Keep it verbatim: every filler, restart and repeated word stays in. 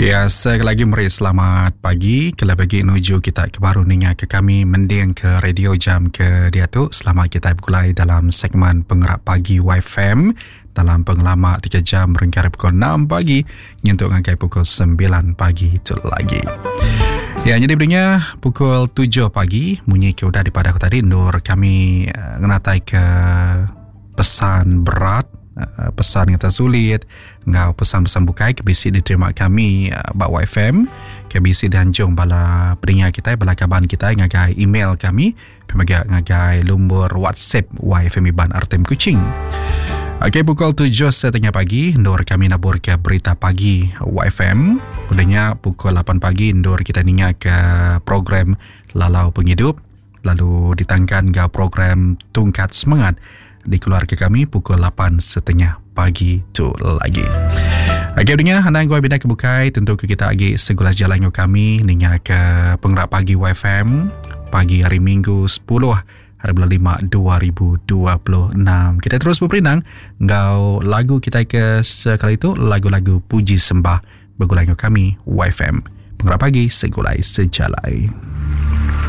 Ya, sekali lagi meri selamat pagi. Kelebih lagi nuju kita ke baru ninga ke kami mending ke radio jam ke dia tu. Selamat kita bergulai dalam segmen Pengerak Pagi Y F M dalam pengelama tiga jam berengkah pukul enam pagi nyentuk ngagai pukul sembilan pagi itu lagi. Ya, jadi berinya pukul tujuh pagi munyi ke udah daripada aku tadi nur kami uh, ngenatai ke pesan berat, uh, pesan yang sulit ngau pesan-pesan bukai ke bisi diterima kami uh, bak Y F M ke bisi dianjung bala peringa kita, bala kaban kita ngagai email kami, pemaga ngagai lumur WhatsApp Y F M Iban R T M Kuching. Okey, pukul tujuh setengah pagi, Nur kami nabur ke berita pagi Y F M. Udahnya pukul lapan pagi, Nur kita ninga ke program Lalau Penghidup. Lalu ditangkan ke program Tungkat Semangat di keluarga kami pukul lapan setengah pagi tu lagi. Okey, dengar anda gua beda kebukai tentu ke kita lagi segulas jalan dengan kami ninga ke Penggerak Pagi Y F M pagi hari Minggu sepuluh hari bulan lima dua ribu dua puluh enam. Kita terus berperindang ngau lagu kita ke sekali itu, lagu-lagu puji sembah bergulai dengan kami Y F M. Penggerak Pagi, segulai sejalai.